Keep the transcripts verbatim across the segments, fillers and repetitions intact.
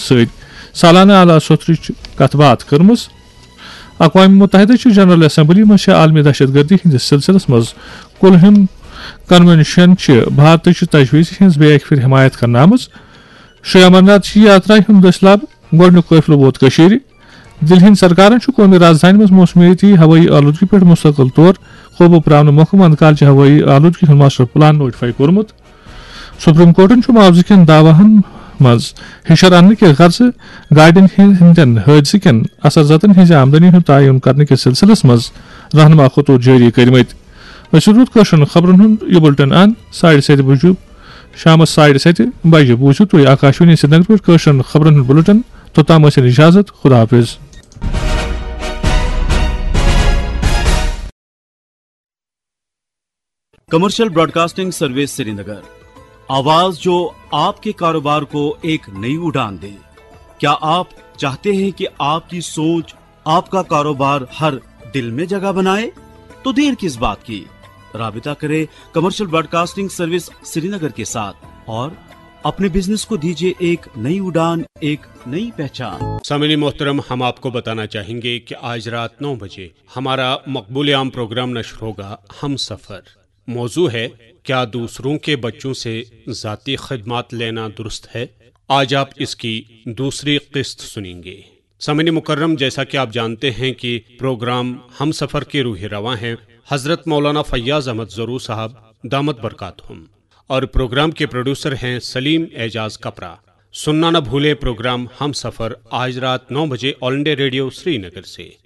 سۭتۍ سالانہٕ اعلیٰ سوٚتھرٕچ کتھ باتھ کٔرمٕژ۔ اقوام متحدہ چہِ جنرل اسمبلی منٛز چھےٚ عالمی دہشت گردی ہٕنٛدِس سلسلس منٛز کُلہم کنونشن چہِ بھارتٕچہِ تجویز ہٕنٛز بیٚیہِ اکہِ پھِرِ حمایت کرنہٕ آمٕژ۔ شری امرناتھ جی یاترا ہُنٛد دٔسۍ لب گۄڈٕنیُک قٲفلہٕ ووت کٔشیٖرِ۔ دِلہِ ہِنٛدِ سرکارن چھُ قومی رازدانہِ منٛز موسمیٲتی ہوٲیی آلودگی پٮ۪ٹھ مستقل طور قوبوٗ پراونہٕ مۄکھٕ وندٕ کالچہِ ہوٲیی آلودگی ہُنٛد ماسٹر پلان نوٹیفائی کوٚرمُت۔ سپریم کورٹن چھُ معاوضہٕ کٮ۪ن دعواہن منٛز ہِشر اننہٕ کہِ غرضہٕ گاڑٮ۪ن ہٕنٛدٮ۪ن حٲدثہٕ کٮ۪ن اثر زدن ہٕنٛزِ آمدنی ہُنٛد تعین کرنہٕ کِس سلسلس منٛز رہنما خطوط جٲری کٔرمٕتۍ۔ أسۍ روٗد کٲشرٮ۪ن خبرن ہُنٛد یہِ بُلٹن اند ساڑِ ستہِ بجہِ، شامس ساڑِ ستہِ بجہِ بوٗزِو تُہۍ آکاشوانی سرینگر پٮ۪ٹھ کٲشرٮ۪ن خبرن ہُنٛد بُلٹن۔ توٚتام ٲسِن اجازت، خدا حافظ۔ کمرشل براڈکاسٹنگ سروس سرینگر، آواز جو آپ کے کاروبار کو ایک نئی اڑان دے۔ کیا آپ چاہتے ہیں کہ آپ کی سوچ، آپ کا کاروبار ہر دل میں جگہ بنائے؟ تو دیر کس بات کی، رابطہ کرے کمرشل براڈکاسٹنگ سروس سرینگر کے ساتھ اور اپنے بزنس کو دیجیے ایک نئی اڑان، ایک نئی پہچان۔ سامعین محترم، ہم آپ کو بتانا چاہیں گے کہ آج رات نو بجے ہمارا مقبول عام پروگرام نشر ہوگا، ہم سفر۔ موضوع ہے، کیا دوسروں کے بچوں سے ذاتی خدمات لینا درست ہے؟ آج آپ اس کی دوسری قسط سنیں گے۔ سامعین مکرم، جیسا کہ آپ جانتے ہیں کہ پروگرام ہم سفر کے روح رواں ہیں حضرت مولانا فیاض احمد زرو صاحب دامت برکاتہم، اور پروگرام کے پروڈیوسر ہیں سلیم اعجاز کپرا۔ سننا نہ بھولیں پروگرام ہم سفر آج رات نو بجے آل انڈیا ریڈیو سری نگر سے۔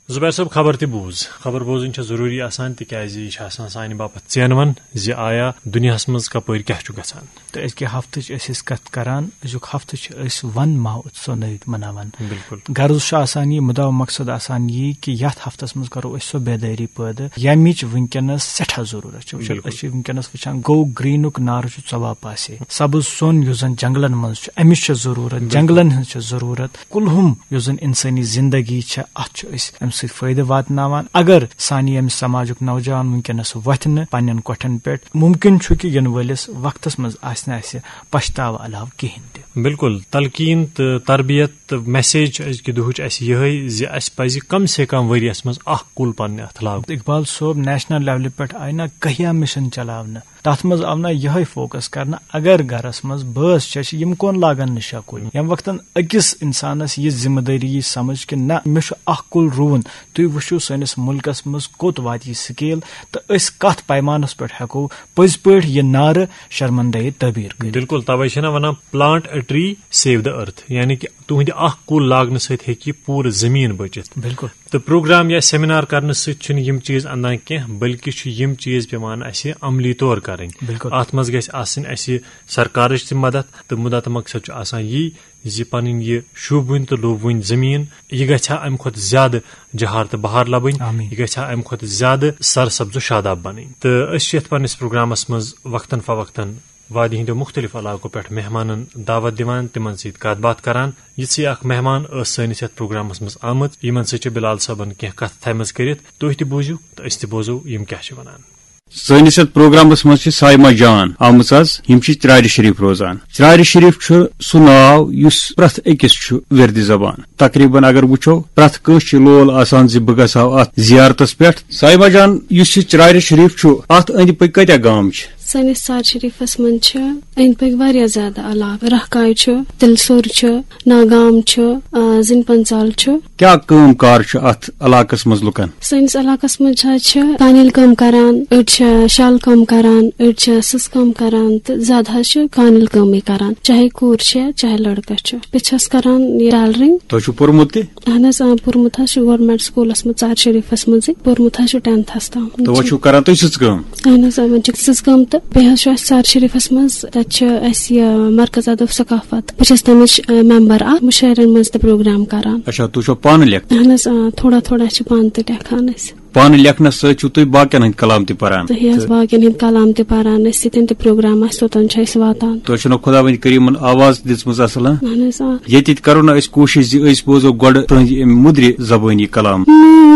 زبیر صٲب، خبر تہِ بوٗز۔ خبر بوزٕنۍ چھےٚ ضروٗری آسان، تِکیازِ یہِ چھِ آسان سانہِ باپتھ ژینوَن زِ آیا دُنیاہَس منٛز کَپٲرۍ کیٛاہ چھُ گژھان۔ تہٕ أزکہِ ہفتٕچ أسۍ ٲسۍ کَتھ کَران، أزیُک ہفتہٕ چھِ أسۍ وَن مہا اُتسو نٲوِتھ مَناوان۔ بِلکُل۔ غرض چھُ آسان یہِ، مُدا و مقصد آسان یہِ کہِ یَتھ ہفتَس منٛز کَرو أسۍ سۄ بیدٲری پٲدٕ، ییٚمِچ وٕنکیٚنَس سٮ۪ٹھاہ ضروٗرت چھِ۔ وٕچھِو، بِلکُل۔ أسۍ چھِ وٕنکیٚنَس وٕچھان، گوٚو گرٛیٖنُک نار چھُ ژۄباپاسے۔ سَبٕز سۄن یُس زَن جنٛگلَن منٛز چھُ، اَمِچ چھِ ضروٗرت، بِلکُل۔ جنٛگلَن ہٕنٛز چھِ ضروٗرت۔ کُلہُم یُس زَن اِنسٲنی زِندگی چھےٚ، اَتھ چھُ أسۍ اَمہِ سۭتۍ فٲیدٕ واتناوان۔ اگر سانہِ ییٚمہِ سماجُک نوجوان وٕنکیٚنَس وۄتھِ نہٕ پنٛنٮ۪ن کۄٹھٮ۪ن پٮ۪ٹھ، مُمکِن چھُ کہِ یِنہٕ وٲلِس وقتَس منٛز آسہِ نہٕ اَسہِ پَشتاوٕ علاوٕ کِہیٖنۍ تہِ۔ بِلکُل، تلقیٖن تہٕ تربیت تہٕ میسیج چھِ أزکہِ دُہٕچ اَسہِ یِہوٚے زِ اَسہِ پَزِ کم سے کم ؤریَس منٛز اَکھ کُل پنٛنہِ اَتھٕ لاگُن۔ اقبال صٲب، نیشنل لیولہِ پٮ۪ٹھ آیہِ نہ کہیا مِشن چلاونہٕ، تَتھ منٛز آو نہ یِہوٚے فوکس کرنہٕ، اگر گرس منٛز بٲژ چھےٚ، چھِ یِم کون لاگن نہٕ شےٚ کُلۍ؟ ییٚمہِ وقتن أکِس اِنسانس یہِ ذمہٕ دٲری یی سمجھ کہِ نہ، مےٚ چھُ اکھ کُل رُوُن، تُہۍ وٕچھِو سٲنِس مُلکس منٛز کوٚت واتہِ یہِ سکیل تہٕ أسۍ کتھ پیمانس پٮ۪ٹھ ہٮ۪کو پٔزۍ پٲٹھۍ یہِ نارٕ شرمندہٕ تعبیٖر کٔرِتھ۔ بِلکُل، توے چھِنہ ونان، "Plant a tree, save the earth"، یعنی کہِ تُہنٛدِ اکھ کُل لاگنہٕ سۭتۍ ہیٚکہِ یہِ پوٗرٕ زٔمیٖن بٔچِتھ۔ بِلکُل۔ تہٕ پروگرام یا سیمینار کرنہٕ سۭتۍ چھِنہٕ یِم چیٖز اندان کینٛہہ، بلکہِ چھُ یِم چیٖز پٮ۪وان اَسہِ عملی طور کرٕنۍ۔ بِلکُل۔ اَتھ منٛز گژھِ آسٕنۍ اَسہِ سرکارٕچ تہِ مدد، تہٕ مُدا تہٕ مقصد چھُ آسان یی زِ پنٕنۍ یہِ شوٗبوٕنۍ تہٕ لوٗبوٕنۍ زٔمیٖن، یہِ گژھِ ہا اَمہِ کھۄتہٕ زیادٕ جہار تہٕ بہار لبٕنۍ، آمیٖن۔ یہِ گژھِ ہا اَمہِ کھۄتہٕ زیادٕ سرسبز و شاداب بنٕنۍ۔ تہٕ أسۍ چھِ یَتھ پننِس پروگرامس منٛز وقتاً فوقتاً وادی ہٕنٛدیو مُختٔلِف علاقو پٮ۪ٹھ مہمانن دعوت دِوان، تِمن سۭتۍ کتھ باتھ کران۔ یِژھٕے اکھ مہمان ٲس سٲنِس یتھ پروگرامس منٛز آمٕژ، یِمن سۭتۍ چھِ بلال صٲبن کینٛہہ کتھٕ تھایمژٕ کٔرِتھ۔ تُہۍ تہِ بوٗزِو تہٕ أسۍ تہِ بوزو یِم کیٛاہ چھِ ونان۔ سٲنِس یتھ پروگرامس منٛز چھِ صایمہ جان آمٕژ از۔ یِم چھِ چرارِ شریف روزان۔ چرارِ شریف چھُ سُہ ناو یُس پرٛٮ۪تھ أکِس چھُ وِردِ زبان۔ تقریباً اگر وٕچھو، پرٛٮ۪تھ کٲنٛسہِ چھِ لول آسان زِ بہٕ گژھٕ ہا اتھ زیارتس پٮ۪ٹھ۔ صایمہ جان، یُس یہِ چرارِ شریف چھُ، اتھ أنٛدۍ پٔکۍ کۭتیاہ گام چھِ؟ سٲنِس ژارِ شریٖفَس منٛز چھِ أنٛدۍ پٔکۍ واریاہ زیادٕ علاقہٕ۔ رہہ کاے چھُ، تِلہٕ سوٚر چھُ، ناگام چھُ، آ، زِنۍ پنٛژال چھُ۔ کیٛاہ کٲم کار چھُ اَتھ علاقَس منٛز لُکَن؟ سٲنِس علاقَس منٛز چھِ، چھِ کانِل کٲم کَران، أڑۍ چھِ شال کٲم کَران، أڑۍ چھِ سٕژ کٲم کَران تہٕ زیادٕ حظ چھِ کانِل کٲمٕے کَران، چاہے کوٗر چھِ، چاہے لٔڑکہٕ چھُ۔ بہٕ چھَس کَران یہِ ٹیلرِنٛگ۔ تۄہہِ چھُو پوٚرمُت تہِ؟ اہن حظ، آ، پوٚرمُت حظ چھُ گورمنٹ سکوٗلَس منٛز، ژارِ شریٖفَس منٛزٕے۔ پوٚرمُت حظ چھُ ٹینتھَس تام۔ تہٕ وۄنۍ چھُو کران تُہۍ سٕژ کٲم؟ اہن حظ، آ، وۄنۍ چھِ سٕژ کٲم تہٕ بیٚیہِ حظ چھُ اَسہِ ژارِ شریٖفَس منٛز، تَتہِ چھِ اَسہِ یہِ مرکز ادب ثقافت۔ بہٕ چھَس تَمِچ، آ، ممبر اَکھ، مُشٲعرَن منٛز تہِ پروگرام کران۔ اچھا، تُہۍ چھِو پانہٕ لیکھان؟ اہن حظ، آ، تھوڑا تھوڑا چھِ پانہٕ تہِ لیکھان أسۍ۔ پانہٕ لیکھنَس سۭتۍ چھِو تُہۍ باقیَن ہٕنٛدۍ کلام تہِ پران؟ صحیح حظ، تہٕ باقیَن ہٕنٛدۍ کلام تہِ پران أسۍ، ییٚتٮ۪ن تہِ پروگرام آسہِ، توٚتَن چھِ أسۍ واتان۔ تۄہہِ چھُنہ خۄداوندِ کریٖمن آواز تہِ دِژمٕژ اصل، ہاں؟ اہن حظ، آ۔ ییٚتہِ تہِ کرو نہ أسۍ کوٗشِش زِ أسۍ بوزو گۄڈٕ تُہنٛزِ اَمہِ مُدرِ زبٲنی کلام۔ نوٗنٛز